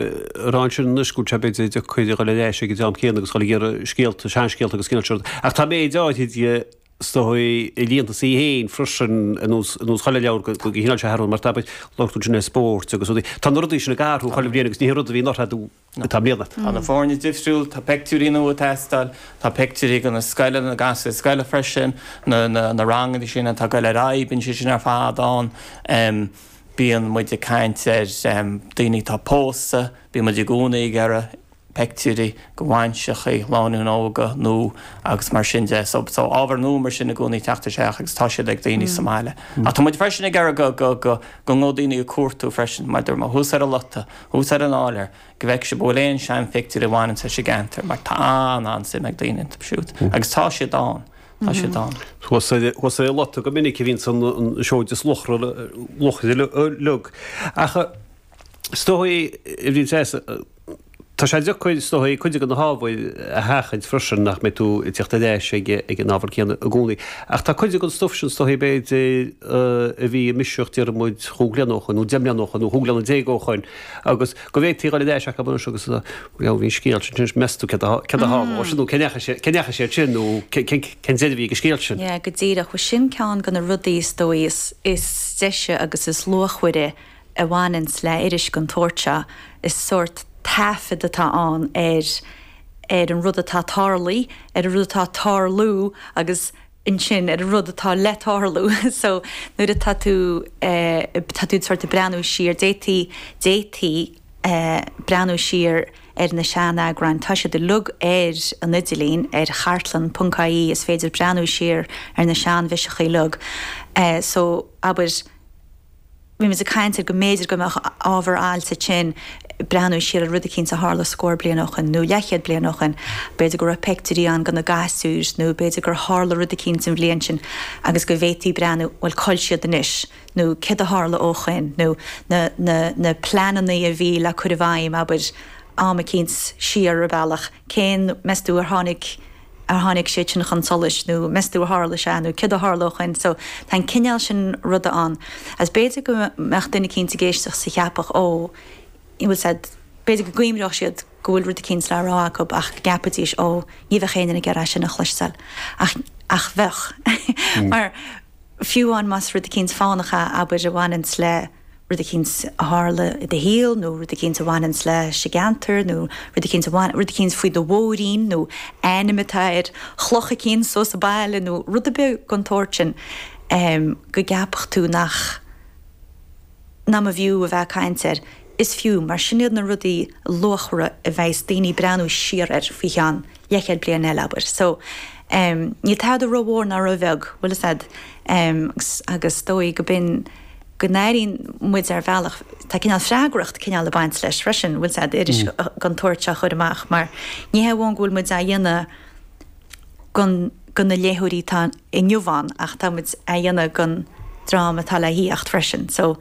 A rá ansin anois go bhfuil sé b'fhéidir deacair a dhul ar ais ag an dream céanna agus dhul ag iarraidh scéalta, seanscéalta agus cineál seo. Ach tá méid áirithe de is dóigh a líontas í féin freisin ar nós ar nós chuile leabhar go go gcineál sé athrú mar tá labhair tú ansin ar spóirt agus rudaí. Tá na rudaí sin ag athrú chuile bhliain agus ní hé rud a bhí anuraidh atá i mbliana. Tá na foirne difriúil, tá peictiúirí nua ag teastáil, tá peictiúirí de na scoileanna, na gasúir scoile freisin, na na na ranganna sin atá ag dul ar aghaidh, bíonn sé sin ar fad ann. Bíonn muid ag caint ar daoine atá pósta, bíonn muid i gcónaí ag iarraidh peictiúirí de bhainseachaí, lánúin óga nó agus mar sin de. So, so ábhar nua mar sin i gcónaí ag teacht isteach agus tá siad ag daoine sa mbaile. Ach tá muid freisin ag iarraidh go, go, go, go ngabhadh daoine ag cuartú freisin, mar dúirt mé, thuas ar an lota, thuas ar an áiléar, go bhfeicfidh sibh an bhfuil aon seanphictiúirí a bhaineann leis an gceantar mar tá an-an-suim ag daoine iontu siúd agus tá siad ann. Tá siad ann. Thuas ar an lota go minic a bhíonns an seoid is luachmhaire uilig. Ach is dóigh, a Bhríd Treasa, tá sé deacair, is dóigh, cuid de na hábhair a sheachaint freisin, nach mbeidh tú ag teacht ar ais ag an ábhar céanna i gcónaí. Ach tá cuid den stuif sin, is dóigh, b'fhéidir, a bhí i mbiseach, déarfaidh muid, chúig bliana ó shoin, nó 10 mbliana ó shoin, nó 15 bliana ó shoin, agus go bhféadfaí a dhul ar ais acu anois agus bhuel bhí an scéal sin anois, meas tú céard a tharla sin nó cé ndeachaigh sé sin nó cén deireadh a bhí ag an scéal sin. Yeah, go díreach. Bhuel sin ceann de na rudaí is dóigh is is deise agus is luachmhaire a bhaineanns le iris den tsórt seo. Is sórt taifead atá ann ar ar an rud atá tarlaithe, ar an rud atá ag tarlú agus ansin ar an rud atá le tarlú. So nuair atá tú, tá tú sort ag breathnú siar, d'fhéadfaí, d'fhéadfaí breathnú siar ar na sean-eagráin, tá siad uilig ar an idirlíon, ar chartlann ponc ie, is féidir breathnú siar ar na sean-bhiseacha uilig. So abair. Bhí muid ag caint ar go mb'fhéidir go mbeadh ábhar ailt ansin breathnú siar ar rud eicínt a tharla scór bliain ó shoin nó leathchéad bliain ó shoin. B'fhéidir go raibh peictiúirí ann de na gasúir nó b'fhéidir gur tharla rud eicínt an bhliain sin agus go bhféadfaí breathnú, bhuel cá bhfuil siad anois nó céard a tharla ó shoin nó na, na, na pleananna a bhí le cur i bhfeidhm, abair, am eicínt siar ar bealach, cén, meas tú ar tháinig. ar tháinig siad sin chun solais nó meas tú ar tharla sé nó céard a tharla ó shoin. So tá an cineál sin ruda ann. Agus b'fhéidir go mbeadh duine eicínt ag éisteacht is a cheapfadh ó, you bhfuil said, b'fhéidir go gcuimhneodh siad go bhfuil rud eicínt le rá acu ach go gceapfaidís ó, ní bheadh éinne ag iarraidh é sin a chloisteáil. Ach, ach bheadh. Mar fiú amháin más rud eicínt fánach é, abair, a bhaineanns le rud eicínt a tharla i do shaol nó rud eicínt a bhaineanns leis an gceantar nó rud eicínt a bhain, rud eicínt faoi do mhóirín nó ainm atá ar chloch eicínt so sa baile nó rud ar bith den tsórt sin go gceapfadh tú nach, nach mb'fhiú a bheith ag caint air. Is fiú, mar sin iad na rudaí luachmhara a bheas daoine ag breathnú siar air faoi cheann leathchéad bliain eile, abair. So, níl tada rómhór ná róbheag, bhfuil fhios a'd, agus, agus is dóigh go b'in, go n-airíonn muid ar bhealach, tá cineál freagracht cineál ag baint leis freisin, bhfuil fhios a'd, iris den tsórt seo a chur amach mar ní hé amháin go bhfuil muid á dhéanamh gon, go na léitheoirí atá inniu ann ach tá muid á dhéanamh gon dream atá le thíocht freisin. So,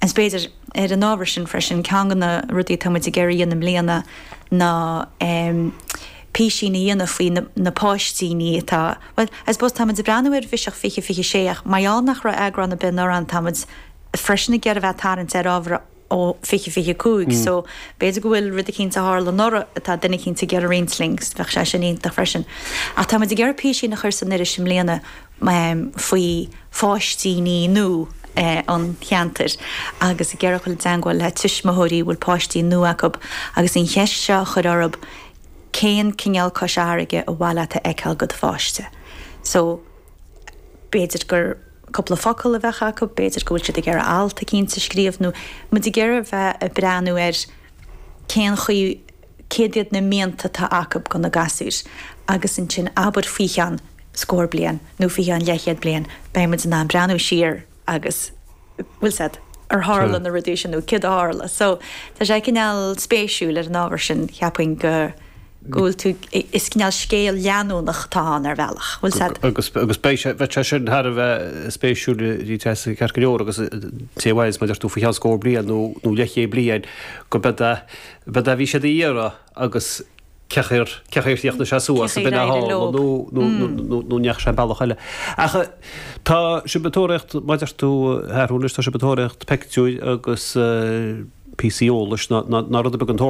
is b'fhéidir ar an ábhar sin freisin, ceann de na rudaí atá muid ag iarraidh a dhéanamh i mbliana ná písín a dhéanamh faoi na páistíní atá, bhuel, I suppose tá muid ag breathnú ar bhiseach 2026 ach mar gheall nach raibh eagrán ar bith anuraidh ann tá muid freisin ag iarraidh a bheith ag tarraingt ar ábhar ó 2025 so b'fhéidir go bhfuil rud eicínt a tharla anuraidh atá duine eicínt ag iarraidh roinnt linn 's bheadh sé sin iontach freisin. Ach tá muid ag iarraidh písín a chur san iris i mbliana faoi pháistíní nua an cheantair agus ag iarraidh dul i dteangmháil le tuismitheoirí a bhfuil páistí nua acu agus an cheist seo a chur orthu cén cineál Cois Fharraige ar mhaith leat a fheiceáil go do pháiste? So b'fhéidir gur cúpla focal a bheadh acu, b'fhéidir go bhfuil siad ag iarraidh alt eicínt a scríobh nó muid ag iarraidh bheith ag breathnú ar cén chaoi, céard iad na mianta atá acu go na gasúir agus ansin abair faoi cheann scór bliain nó faoi cheann leathchéad bliain beidh muid in ann breathnú siar agus bhfuil 's a'd, ar tharla na rudaí sin nó céard a tharla. So tá sé cineál spéisiúil ar an ábhar sin, cheapfainn go go bhfuil tú, is cineál scéal leanúnach atá ann ar bhealach, bhfuil 's a'd. Agus agus beidh sé, bheadh sé sin thar a bheith spéisiúil a Threasa ceart go leor agus té a mhaíos mar a deir tú faoi cheann scór bliain nó nó leathchéad bliain go mbeidh a bheidh a bhí siad a iarraidh agus cén chaoi ar cén chaoi ar chríochnaigh sé suas Cén chaoi ar éirigh leo. nó nó nó nó ndeachaigh sé an bealach eile. Ach tá sibh ag tóraíocht, mar a deir tú, a Sheathrúin anois, tá sibh ag tóraíocht peictiúir agus. píosaí eolais ná ná rud ar bith den tsórt.